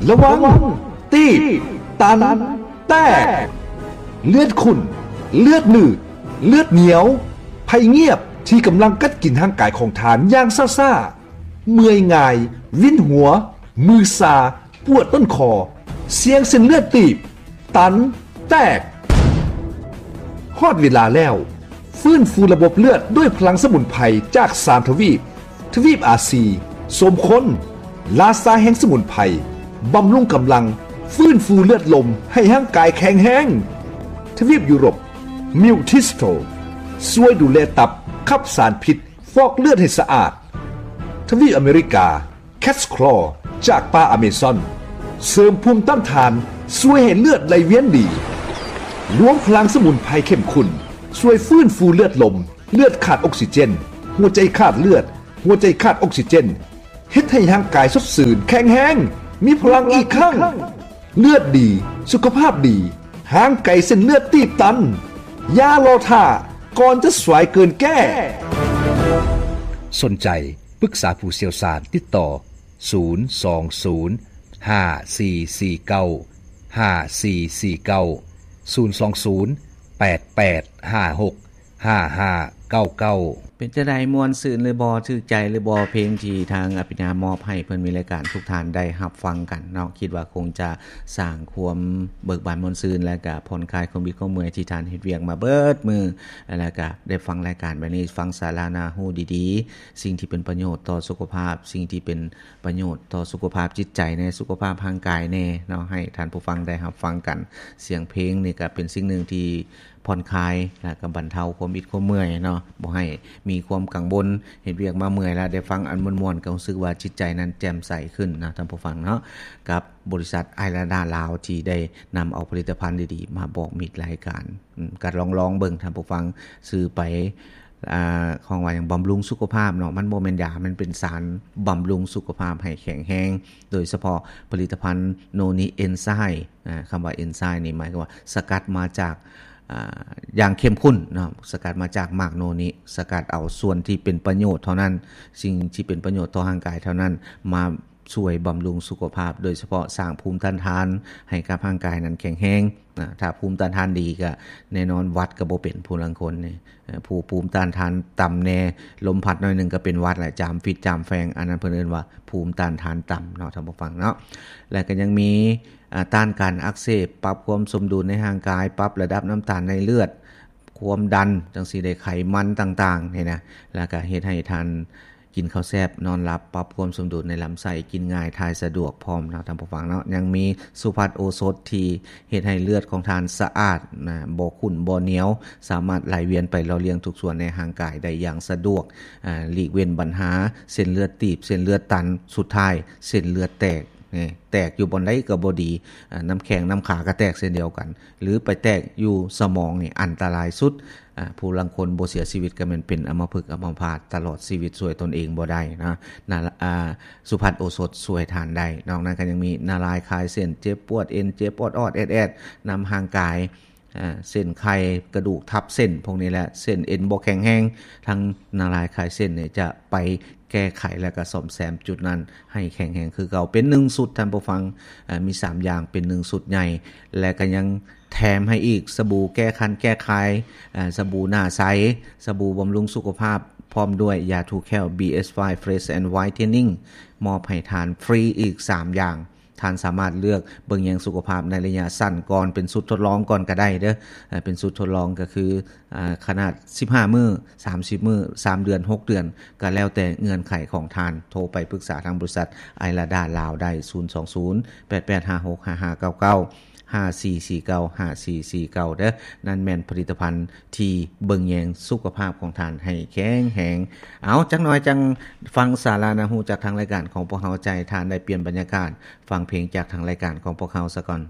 ລະວັງ ຕີບ ຕັນ ແຕກ ເລືອດຂຸ້ນ ເລືອດໜືດ ເລືອດໜຽວ ໄພງຽບທີ່ກຳລັງກັດກິນຮ່າງກາຍຂອງທ່ານຢ່າງຊ້າໆ, ເມື່ອຍງ່າຍ, ວິນຫົວ, ມືຊາ, ປວດຕົ້ນຄໍ, ສ່ຽງເສັ້ນເລືອດຕີບ, ຕັນ, ແຕກ. ຮອດເວລາແລ້ວ, ຟື້ນຟູລະບົບເລືອດດ້ວຍພະລັງສະໝຸນໄພຈາກສາມທະວີບ, ທະວີບອາຊີ, ສົມຄົນ, ລາຊາແຫ່ງສະໝຸນໄພ, ບຳລຸງກຳລັງ, ຟື້ນຟູເລືອດລົມໃຫ້ຮ່າງກາຍແຂງແຮງ. ທະວີບຢູໂຣບ, ມິວທິສໂຕ, ຊ່ວຍດູແລຕັບ, ຂັບສານພິດ, ຟອກເລືອດໃຫ້ສະອາດ. ທະວີບອາເມລິກາ, ແຄດສະຄລໍ ຈາກປ່າອາເມຊອນ ເສີມພູມຕ້ານທານ, ຊ່ວຍໃຫ້ເລືອດໄຫຼວຽນດີ. ລວມພະລັງສະໝຸນໄພເຂັ້ມຂຸ້ນ ຊ່ວຍຟື້ນຟູເລືອດລົມ, ເລືອດຂາດອົກຊີເຈນ, ຫົວໃຈຂາດເລືອດ, ຫົວໃຈຂາດອົກຊີເຈນ, ເຮັດໃຫ້ຮ່າງກາຍສົດຊື່ນ, ແຂງແຮງ, ມີພະລັງອີກຄັ້ງ. ເລືອດດີ, ສຸຂະພາບດີ, ຫ່າງໄກເສັ້ນເລືອດຕີບຕັນ. ຢ່າລໍຖ້າ, ກ່ອນຈະສວາຍເກີນແກ້. ສົນໃຈ ປຶກສາຜູ້ຊ່ຽວຊານ, ຕິດຕໍ່ ສູນສອງສູນ ຫ້າສີ່ສີ່ເກົ້າ ຫ້າສີ່ສີ່ເກົ້າ, ສູນສອງສູນ ແປດແປດຫ້າຫົກ ຫ້າຫ້າເກົ້າເກົ້າ. ເປັນຈັ່ງໃດ ມ່ວນຊື່ນຫຼືບໍ່? ຖືກໃຈຫຼືບໍ່? ເພງທີ່ທາງອະພິນາມອບໃຫ້ເພື່ອນມິດລາຍການທຸກທ່ານໄດ້ຮັບຟັງກັນເນາະ, ຄິດວ່າຄົງຈະສ້າງຄວາມເບີກບານມ່ວນຊື່ນ ແລະກະຜ່ອນຄາຍຄວາມອິດຄວາມເມື່ອຍທີ່ທ່ານເຮັດວຽກມາເບິດມື້, ແລະກະໄດ້ຟັງລາຍການແບບນີ້, ຟັງສາລະໜ້າຮູ້ດີໆ, ສິ່ງທີ່ເປັນປະໂຫຍດຕໍ່ສຸຂະພາບ, ສິ່ງທີ່ເປັນປະໂຫຍດຕໍ່ສຸຂະພາບຈິດໃຈແດ່, ສຸຂະພາບຮ່າງກາຍແດ່ເນາະ, ໃຫ້ທ່ານຜູ້ຟັງໄດ້ຮັບຟັງກັນ. ສຽງເພງນີ້ກະເປັນສິ່ງໜຶ່ງທີ່ຜ່ອນຄາຍ ແລະກະບັນເທົາຄວາມອິດຄວາມເມື່ອຍເນາະ, ບໍ່ໃຫ້ມີຄວາມກັງວົນ, ເຮັດວຽກມາເມື່ອຍແລ້ວໄດ້ຟັງອັນມ່ວນໆ ກະຮູ້ສຶກວ່າຈິດໃຈນັ້ນແຈ່ມໃສຂຶ້ນເນາະ ທ່ານຜູ້ຟັງເນາະ. ກັບ ບໍລິສັດໄອລາດາລາວ ທີ່ໄດ້ນຳເອົາຜະລິດຕະພັນດີໆມາບອກມິດລາຍການ. ອືມ ກໍລອງໆເບິ່ງທ່ານຜູ້ຟັງ, ຊື້ໄປ ອ່າ ຂອງວ່າຫຍັງ ບຳລຸງສຸຂະພາບເນາະ, ມັນບໍ່ແມ່ນຢາ, ມັນເປັນສານບຳລຸງສຸຂະພາບໃຫ້ແຂງແຮງ, ໂດຍສະເພາະຜະລິດຕະພັນໂນນິເອັນໄຊ, ອ່າ ຄຳວ່າເອັນໄຊນີ້ໝາຍຄວາມວ່າສະກັດມາຈາກ ອ່າ ຢ່າງເຂັ້ມຂຸ້ນເນາະ, ສະກັດມາຈາກໝາກໂນນິ, ສະກັດເອົາສ່ວນທີ່ເປັນປະໂຫຍດເທົ່ານັ້ນ, ສິ່ງທີ່ເປັນປະໂຫຍດຕໍ່ຮ່າງກາຍເທົ່ານັ້ນ ມາ ຊ່ວຍບຳລຸງສຸຂະພາບ, ໂດຍສະເພາະສ້າງພູມຕ້ານທານໃຫ້ກັບຮ່າງກາຍນັ້ນແຂງແຮງ. ອາ ຖ້າພູມຕ້ານທານດີ ກະແນ່ນອນຫວັດກະບໍ່ເປັນ. ຜູ້ລາງຄົນນີ້ ເອີ ຜູ້ພູມຕ້ານທານຕ່ຳແດ່, ລົມພັດໜ້ອຍໜຶ່ງກະເປັນຫວັດແຫຼະ, ຈາມຟິດຈາມແຟງ, ອັນນັ້ນເພິ່ນເອີ້ນວ່າພູມຕ້ານທານຕ່ຳເນາະ ທ່ານຜູ້ຟັງເນາະ. ແລະກະຍັງມີ ອາ ຕ້ານການອັກເສບ, ປັບຄວາມສົມດຸນໃນຮ່າງກາຍ, ປັບລະດັບນ້ຳຕານໃນເລືອດ, ຄວາມດັນ ຈັ່ງຊີ້ເດ້, ໄຂມັນຕ່າງໆນີ້ນະ, ແລ້ວກະເຮັດໃຫ້ທ່ານ ກິນເຂົ້າແຊບນອນຫຼັບ, ປັບຄວາມສົມດຸນໃນລຳໄສ້, ກິນງ່າຍ ຖ່າຍສະດວກພ້ອມເນາະ ທ່ານຜູ້ຟັງເນາະ. ຍັງມີສຸພັດໂອສົດທີ່ເຮັດໃຫ້ເລືອດຂອງທ່ານສະອາດນະ, ບໍ່ຂຸ້ນບໍ່ໜຽວ, ສາມາດໄຫຼວຽນໄປຫຼໍ່ລ້ຽງທຸກສ່ວນໃນຮ່າງກາຍໄດ້ຢ່າງສະດວກ, ອາ ຫຼີກເວັ້ນບັນຫາເສັ້ນເລືອດຕີບ, ເສັ້ນເລືອດຕັນ, ສຸດທ້າຍເສັ້ນເລືອດແຕກ. ແຕກຢູ່ບ່ອນໃດກໍບໍ່ດີ, ອາ ນ້ຳແຂ້ງນ້ຳຂາກໍແຕກເຊັ່ນດຽວກັນ, ຫຼືໄປແຕກຢູ່ສະໝອງນີ້ອັນຕະລາຍສຸດ. ອາ ຜູ້ລາງຄົນບໍ່ເສຍຊີວິດກໍແມ່ນເປັນອຳມະພຶກອຳມະພາດຕະຫຼອດຊີວິດ, ຊ່ວຍຕົນເອງບໍ່ໄດ້ນະ. ນາ ອາ ສຸພັດໂອສົດຊ່ວຍທ່ານໄດ້. ນອກນັ້ນກໍຍັງມີນາລາຍຄາຍເສັ້ນ, ເຈັບປວດເອັນ, ເຈັບອອດໆແອດໆນຳຮ່າງກາຍ, ອາ ເສັ້ນໄຂກະດູກທັບເສັ້ນພວກນີ້ແຫຼະ, ເສັ້ນເອັນບໍ່ແຂງແຮງ, ທາງນາລາຍຄາຍເສັ້ນນີ້ຈະໄປ ແກ້ໄຂ ແລະກະສ້ອມແຊມຈຸດນັ້ນໃຫ້ແຂງແຮງຄືເກົ່າ ເປັນໜຶ່ງຊຸດ ທ່ານຜູ້ຟັງ. ເອີ ມີສາມຢ່າງເປັນໜຶ່ງຊຸດໃຫຍ່ ແລະກະຍັງແຖມໃຫ້ອີກ ສະບູແກ້ຄັນແກ້ຄາຍ, ເອີ ສະບູໜ້າໃສ, ສະບູບຳລຸງສຸຂະພາບ ພ້ອມດ້ວຍຢາຖູແຂ້ວ ບີເອັສໄຟ Fresh and Whitening ມອບໃຫ້ທ່ານຟຣີອີກສາມຢ່າງ. ທ່ານສາມາດເລືອກເບິ່ງແຍງສຸຂະພາບໃນໄລຍະສັ້ນກ່ອນ ເປັນຊຸດທົດລອງກ່ອນກະໄດ້ເດີ້. ເອີ ເປັນຊຸດທົດລອງກະຄື ອາ ຂະໜາດສິບຫ້າມື້, ສາມສິບມື້, ສາມເດືອນ, ຫົກເດືອນ ກະແລ້ວແຕ່ເງື່ອນໄຂຂອງທ່ານ. ໂທໄປປຶກສາທາງບໍລິສັດໄອລາດາລາວໄດ້ ສູນສອງສູນ ແປດແປດຫ້າຫົກ ຫ້າຫ້າເກົ້າເກົ້າ, ຫ້າສີ່ສີ່ເກົ້າ ຫ້າສີ່ສີ່ເກົ້າ ເດີ້. ນັ້ນແມ່ນຜະລິດຕະພັນທີ່ເບິ່ງແຍງສຸຂະພາບຂອງທ່ານໃຫ້ແຂງແຮງ. ເອົາ ຈັກໜ່ອຍຈັ່ງຟັງສາລະໜ້າຮູ້ຈາກທາງລາຍການຂອງພວກເຮົາ, ຈະໃຫ້ທ່ານໄດ້ປ່ຽນບັນຍາກາດ ຟັງເພງຈາກທາງລາຍການຂອງພວກເຮົາສາກ່ອນ.